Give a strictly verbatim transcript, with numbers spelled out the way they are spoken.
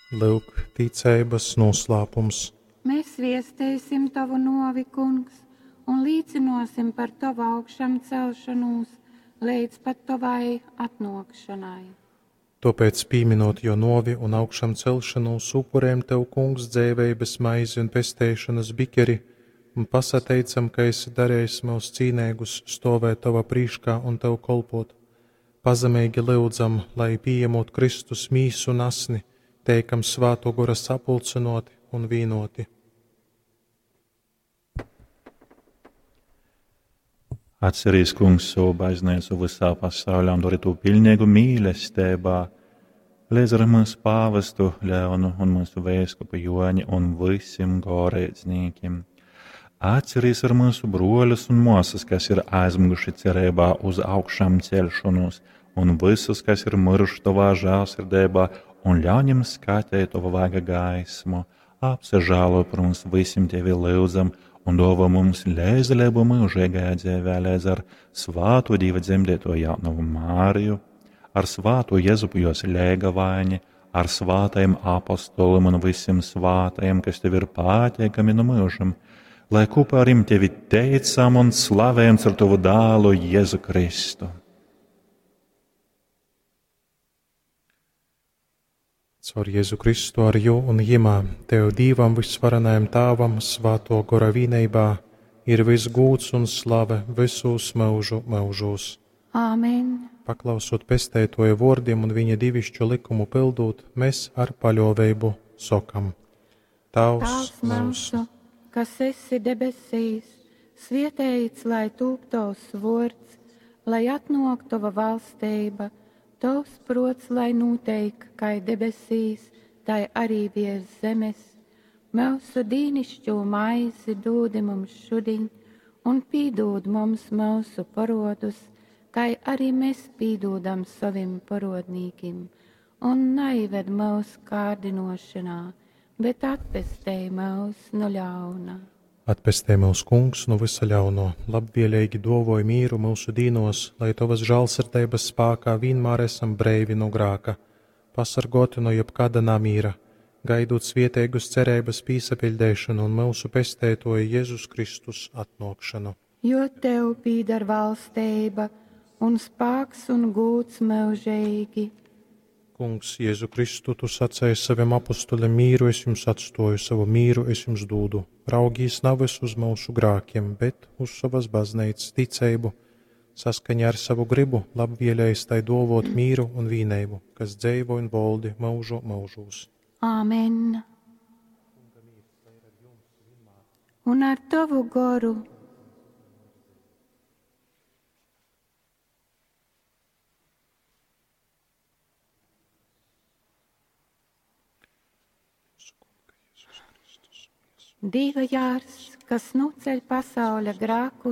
Lyuk, ticeibas noslēpums. Mēs viesteisim Tavu novi, Kungs, un līcinosim par Tavu augšamcelšanūs leidz pat Tavai atnōkšanai. Tōpēc, pīminot jō nōvi un augšamcelšanūs, upurējam Tev, Kungs, dzeiveibas maizi un pesteišonas bikeri, un pasateicam, ka esi darējis myus cīneigus stōvēt Tova prīškā un Tev kolpot. Pazemeigi lyudzam, lai, pījemot Kristus mīsu un asni, teikam Svātō Gora sapulcynōti un vīnōti. Atcerīs, Kungs, savu baznīcu visā pasaulē un dori to pilnīgu mīlestībā, līdz ar mūsu pāvestu Leonu un mūsu vēskupu Joņi un visiem goreidznīkiem. Atcerīs ar mūsu broļus un māsas, kas ir aizmiguši cerībā uz augšām celšanos, un visus, kas ir miruši tavā žēlsirdībā, un ļauj viņiem skatīt tavu vaiga gaismu. Apsažālo par mums visiem tevi lūdzam, un dāvā mums līdzdalību mūžīgajā dzīvē līdz ar svāto Dieva dzemdēto jaunavu Māriju, ar svāto Jēzupu jos lēgavaini, ar svātajiem apostoliem un visiem svātajiem, kas tev ir pateikami no mūžam, lai kopā ar viņiem tevi teicam un slavējam caur tavu dēlu Jēzu Kristu. Caur Jēzu Kristu ar jū un jimā, Tev Dīvam visvarenajam Tāvam, Svāto Gora vīneibā, ir viss gūds un slave visūs mūžu mūžos. Āmen. Paklausot pesteitoja vōrdim un viņa divišķo likumu pildūt, mēs ar paļōveibu sokam: Tavs Tēvs mūsu, kas esi debesīs, svietēts lai tūp tavs vōrds, lai atnāk tava valstība, tavs prots, lai noteik, kai debesīs, tai arī virs zemes. Mūsu dīnišķo maizi dūdi mums šudiņ, un pīdūd mums mūsu parodus, kai arī mēs pīdūdam savim parodnīkim, un naived mūsu kārdinošanā, bet atpestej mūs no ļauna. Atpestej mūs, Kungs, no visa ļauno, labvēlīgi dovoj mīru mūsu dīnos, lai Tavas žālsirdības spākā vienmēr esam breivi no grāka, pasargoti no jebkāda namīra, gaidot svieteigus cerības pīsapiļdēšanu un mūsu pestētoja Jēzus Kristus atnākšanu. Jo Tev pīdar valstība un spāks un gūts mūžīgi. Kungs, Jēzu Kristu, tu sacēji saviem apustuļiem mīru es jums atstoju, savu mīru es jums dūdu. Raugīs nevis uz mūsu grākiem, bet uz savas baznīcas ticību, saskaņā ar savu gribu, labvēlējis tai dovot mīru un vīneibu, kas dzeivo un voldi mūžu mūžūs. Āmen. Un ar tavu goru. Dieva jārs, kas nuceļ pasauļa grāku.